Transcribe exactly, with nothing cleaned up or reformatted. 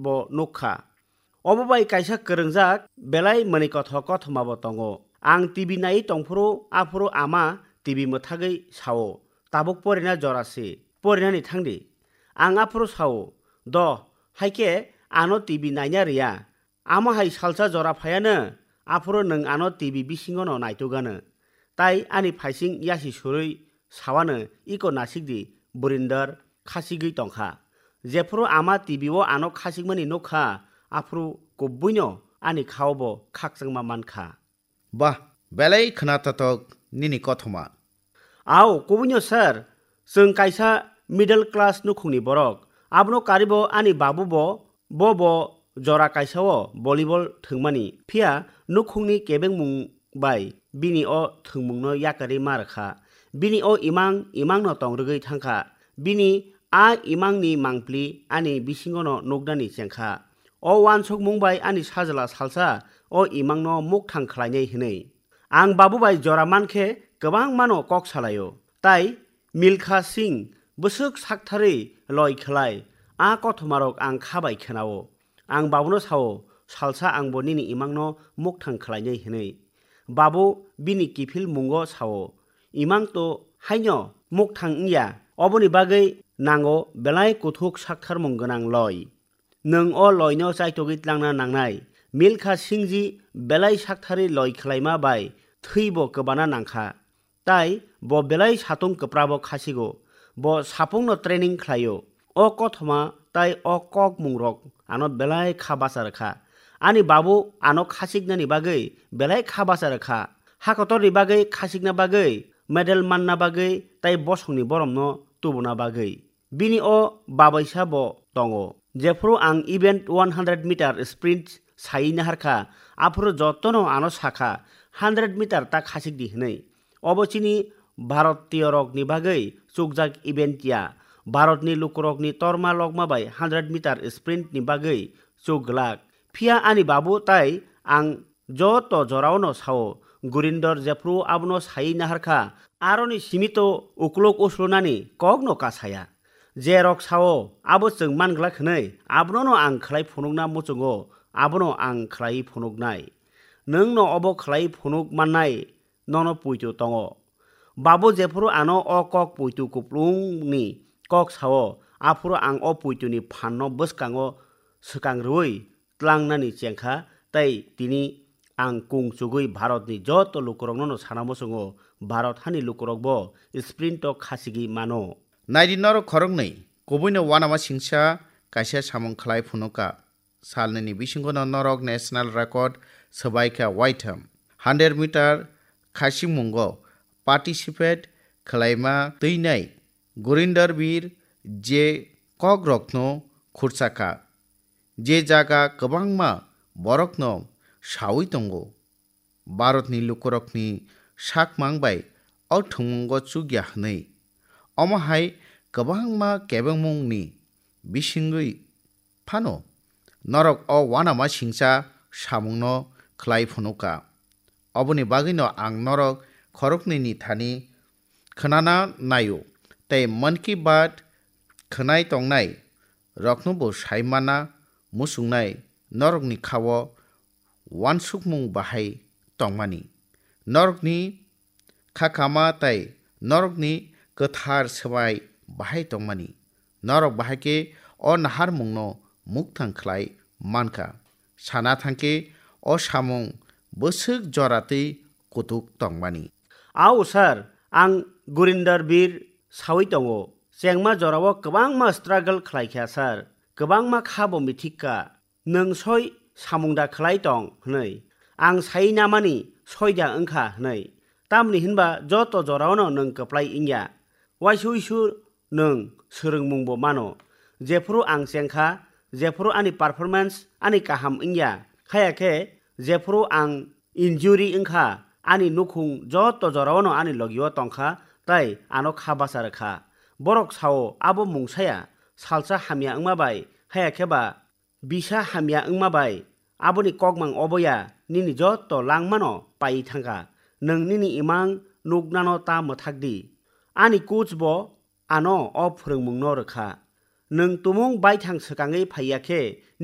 bo nuk kha. Obo bai kaisa kwrwngjak belai mwnwi kothok kothoma bo tongo. Ang T V naiwi tongphuru aphuru ama T V mwthagwi sao, "Tabuk porina jora se, porinani thangdi." Ang aphuru sao, "Do, haikhe ano T V naina rwya." Amo hai salsa jora phaiano, aphuru nwng ano T V bisingono naitugano. Tai ani phaising yasi surwi sawano, "Iko nasikdi, Burinder khasigwi tongkha." Jephuru ama T V o ano khasigmani nukha, aphuru kubuino ani khao bo khakchangma mankha. Bah, belai khwnathothok nini kothoma. Ao, kubuino sir, chwng kaisa middle class nukhungni borok. Abono karibo ani babu bo, bo bo jora kaisa o volleyball thwngmani. Phiya nukhungni kebengmung bai bini o thwngmungno yakarwi ma rwkha. Bini o imang imangno tong rwgwi thangkha. Bini a imangni mangpli ani bisingono nuknani chengkha. O uansukmung bai ani sajla salsa o imangno mukthang khlainai hwnwi. Ang babu bai jora mankhe kwbangmano kok salaio. Tai Milkha Singh bwswk saktharwi loi khlai, a kothomarok ang kha bai khenao. Ang babuno sao, "Salsa angbo nini imangno mukthang khlainai," hwnwi. Babu bini kiphil mungo sao, "Imang to haino mukthang wngya, oboni bagwi nango belai kuthuk saktharmung gwnang loi. Nwng o loino chaitogwi tlangna nangnai." Milkha Singh ji belai saktharwi loi khlaima bai thwibo kwbana nangkha. Tai bo belai satung kwprabo khasigo. Bo sapungno training khlaio. O kothoma tai o kokmungrok ano belai kha bacha rwkha. Ani babu ano khasiknani bagwi belai kha bacha rwkha. Hakotorni bagwi khasikna bagwi, medal manna bagwi tai bosongni boromno tubuna bagwi. Bini o babaisa bo tongo. Jephuru ang event one hundred meter sprint saiwi naharkha, aphuru jotono ano sakha, "Hundred meter ta khasikdi," hwnwi. Obo chini Bharatiyorokni bagwi chukjak event ya. Bharatni lukurokni torma lokma bai hundred meter sprint ni bagwi chuk glak. Phiya ani babu tai ang joto joraono sao, Gurinder jephru abono saiwi naharkha, aroni simi to uklok uslunani kokno kasaya. Jerok sao, abo chwng manglak hwnwi, abonono ang khlai phunukna muchungo, abono ang khlaiwi phunuknai. Nwngno obo khlaiwi phunuk mannai, nono poito tongo. Babu jephru ano o kok poito kuplungni kok sao, aphuru ang o poitoni phanno bwskango swkang rwui tlangnani chengkha, tei tini ang kung chugui Bharatni joto lukurokno sana muchungo, Bharat hani lukurokbo sprint o khachigwi mano. Naidi norok khoroknwi, kubuino uanama singsa kaisa samung khlai phunuka. Salnini bisingono norok national record swbaikha waitham. Hundred meter khachingmungo participate khlaima twinai Gurinder Bir je kokrokno khurchakha, je jaga kwbangma borokno saui tongo. Bharatni lukurokni sakmang bai o thwngmungo chukya hwnwi. Omo hai kwbangma kebengmungni bisingwi phano norok o uanama singcha samungno khlai phunuka. Oboni bagwino ang norok khoroknwini thani khwnana naio, tei Mann Ki Baat khwnai tongnai roknobo sai mana muchungnai norokni khao uansukmung bahai tongmani, norokni kha kama tei norokni kwthar swbai bahai tongmani. Norok bahai khe o naharmungno mukthang khlai mankha. Sana thangkhe o samung bwswk jora tei kutuk tongmani. Ao sir, ang Gurinder Bir saui tongo. Chengma jorao kwbangma struggle khlaikha sir. Kwbangma kha bo mithikka. Nwng soi samung da khlai tong hwnwi. Ang sai namani soi da wngkha hwnwi. Tamni hinba joto joraono nwng kwplai wngya. Waisa uisu nwng swrwngmungbo mano. Jephru ang chengkha, jephru ani performance ani kaham wngya, haya khe jephru ang injury wngkha, ani nukhung joto joraono ani logio tongkha, tei ano kha bacha rwkha. Borok sao, abo mungsaya, salsa hamya wngma bai, haya khe ba bisa hamya wngma bai, aboni kokmang oboya nini joto langmano paiwi thangkha. Nwng nini imang nuknano ta mwthak di. Ani coach bo ano o phwrwngmungno rwkha. Nwng tumung baithang swkangwi phaiya khe